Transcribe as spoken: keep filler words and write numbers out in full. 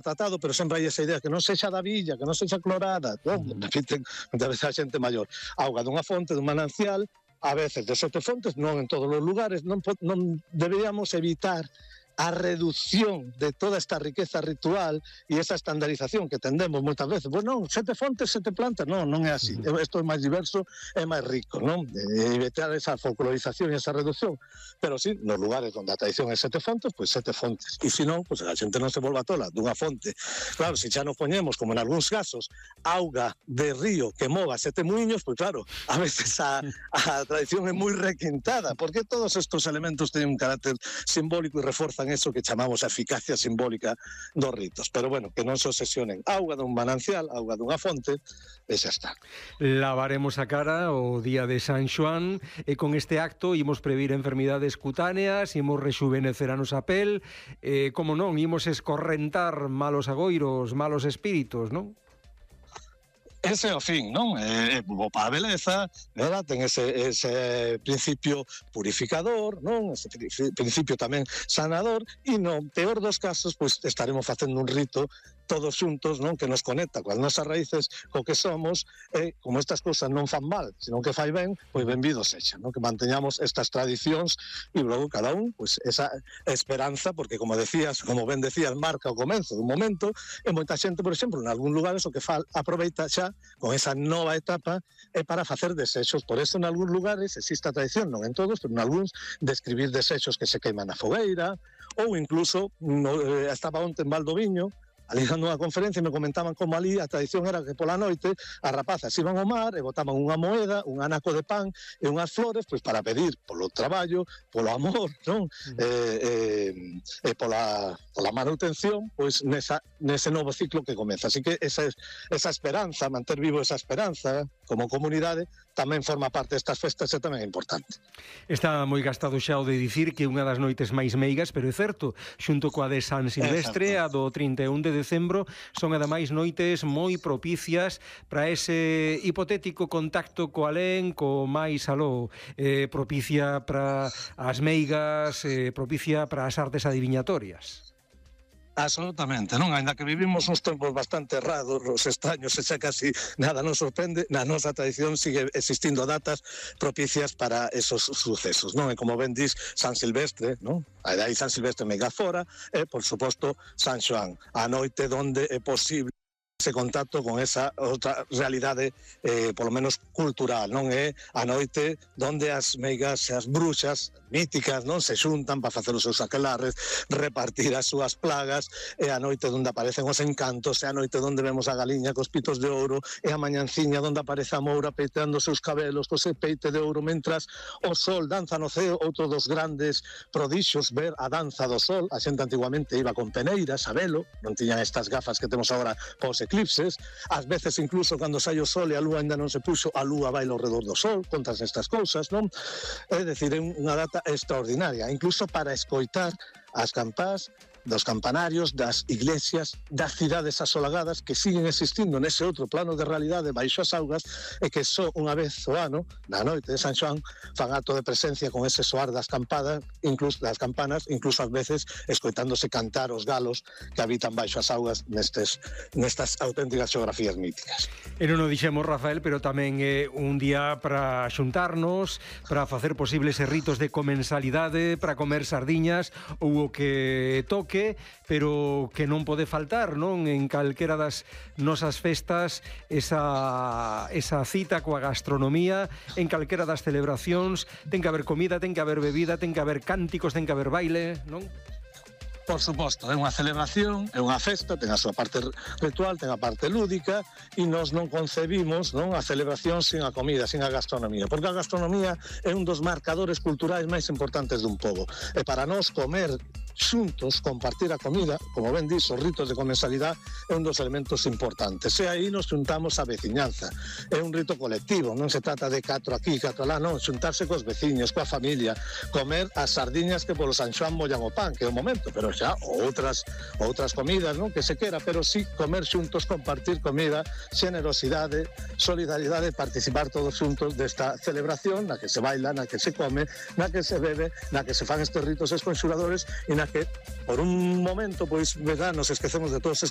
tratado, pero sempre hai esa idea que non sexa da villa, que non sexa clorada, non? Repiten muitas veces a xente maior. Auga dunha fonte, dun manancial, a veces de sete fontes, non en todos os lugares, non, non deberíamos evitar a reducción de toda esta riqueza ritual e esa estandarización que tendemos moitas veces. Pois non, sete fontes, sete plantas, non, non é así. Isto é máis diverso, é máis rico, non? E evitar esa folclorización e esa reducción. Pero sí, nos lugares onde a tradición é sete fontes, pois sete fontes. E se non, pois a xente non se volva tola dunha fonte. Claro, se xa nos poñemos, como en algúns casos, auga de río que mova sete muiños, pois claro, a veces a, a tradición é moi requintada, porque todos estes elementos teñen un carácter simbólico e reforzan eso que chamamos a eficacia simbólica dos ritos. Pero bueno, que non se obsesionen. Auga dun manancial, auga dunha fonte, e xa está. Lavaremos a cara o día de San Xoán e con este acto imos previr enfermidades cutáneas, imos rexuvenecer a nosa pel, e, como non, imos escorrentar malos agoiros, malos espíritos, non? Ese é o fin, non? É bo para a beleza, verdad? Ten ese, ese principio purificador, non? Ese principio tamén sanador, e no peor dos casos, pois estaremos facendo un rito todos xuntos, non? Que nos conecta coas nosas raíces, co que somos, e como estas cousas non fan mal, senón que fai ben, pois benvidos sexan, non? Que manteñamos estas tradicións e logo cada un, pois esa esperanza, porque como decías, como ben decías, marca o comenzo dun momento, e moita xente, por exemplo, en algún lugares o que fa, aproveita xa con esa nova etapa é para facer desexos. Por eso en algúns lugares existe a tradición, non en todos, pero en algúns, de escribir desexos que se queiman na fogueira, ou incluso, no, eh, estaba onte en Valdoviño, ali dando unha conferencia e me comentaban como ali a tradición era que pola noite as rapazas iban ao mar e botaban unha moeda, un anaco de pan e unhas flores, pois para pedir polo traballo, polo amor, non? Mm. Eh, eh, e pola, pola manutención, pois nesa, nese novo ciclo que comeza. Así que esa, esa esperanza, manter vivo esa esperanza como comunidade, tamén forma parte destas festas e tamén é importante. Está moi gastado xa o de dicir que unha das noites máis meigas, pero é certo, xunto coa de San Silvestre, a do trinta e un de decembro, son ademais noites moi propicias para ese hipotético contacto co alén, co máis aló, eh, propicia para as meigas, eh, propicia para as artes adiviñatorias. Absolutamente, non? Ainda que vivimos uns tempos bastante errados, os extraños, e xa casi nada nos sorprende, na nosa tradición sigue existindo datas propicias para esos sucesos, non? E como ben dis, San Silvestre, non? Aí San Silvestre mega fora, e, por suposto, San Xoán, a noite donde é posible ese contacto con esa outra realidade, eh, polo menos cultural, non? É a noite donde as meigas e as bruxas míticas, non? Se xuntan para facer os seus aquelarres, repartir as súas plagas, é a noite onde aparecen os encantos, é a noite onde vemos a galiña cos pitos de ouro, é a mañanciña onde aparece a moura peiteando os seus cabelos co seu peite de ouro, mentras o sol danza no ceo. Outro dos grandes prodixos, ver a danza do sol. A xente antiguamente iba con peneiras a velo, non tiñan estas gafas que temos agora pos eclipses, ás veces incluso cando sai o sol e a lúa ainda non se puxo, a lúa baila ao redor do sol, contas estas cousas, non? É dicir, é unha data extraordinaria, incluso para escoitar as campás dos campanarios, das iglesias, das cidades asolagadas que siguen existindo nese outro plano de realidade baixo as augas, e que só unha vez o ano, na noite de San Xoán, fan acto de presencia con ese soar das campadas, incluso das campanas, incluso ás veces escoitándose cantar os galos que habitan baixo as augas nestes, nestas auténticas xeografías míticas. E non o dixemos, Rafael, pero tamén é un día para xuntarnos, para facer posibles ritos de comensalidade, para comer sardiñas ou o que toque, pero que non pode faltar, non? En calquera das nosas festas, esa, esa cita coa gastronomía, en calquera das celebracións, ten que haber comida, ten que haber bebida, ten que haber cánticos, ten que haber baile, non? Por suposto, é unha celebración, é unha festa, ten a súa parte ritual, ten a parte lúdica, e nós non concebimos, non, a celebración sin a comida, sin a gastronomía, porque a gastronomía é un dos marcadores culturais máis importantes dun pobo. E para nós comer xuntos, compartir a comida, como ben dis, os ritos de comensalidade é un dos elementos importantes. E aí nos xuntamos a veciñanza. É un rito colectivo, non se trata de catro aquí, catro lá, non, xuntarse cos veciños, coa familia, comer as sardiñas que polo San Xoán mollan o pan, que é o momento, pero xa outras outras comidas, non, que se quera, pero sí comer xuntos, compartir comida, xenerosidade, solidaridade, participar todos xuntos desta celebración na que se baila, na que se come, na que se bebe, na que se fan estes ritos esconxuradores e na que por un momento, pois, verdad, nos esquecemos de todos estes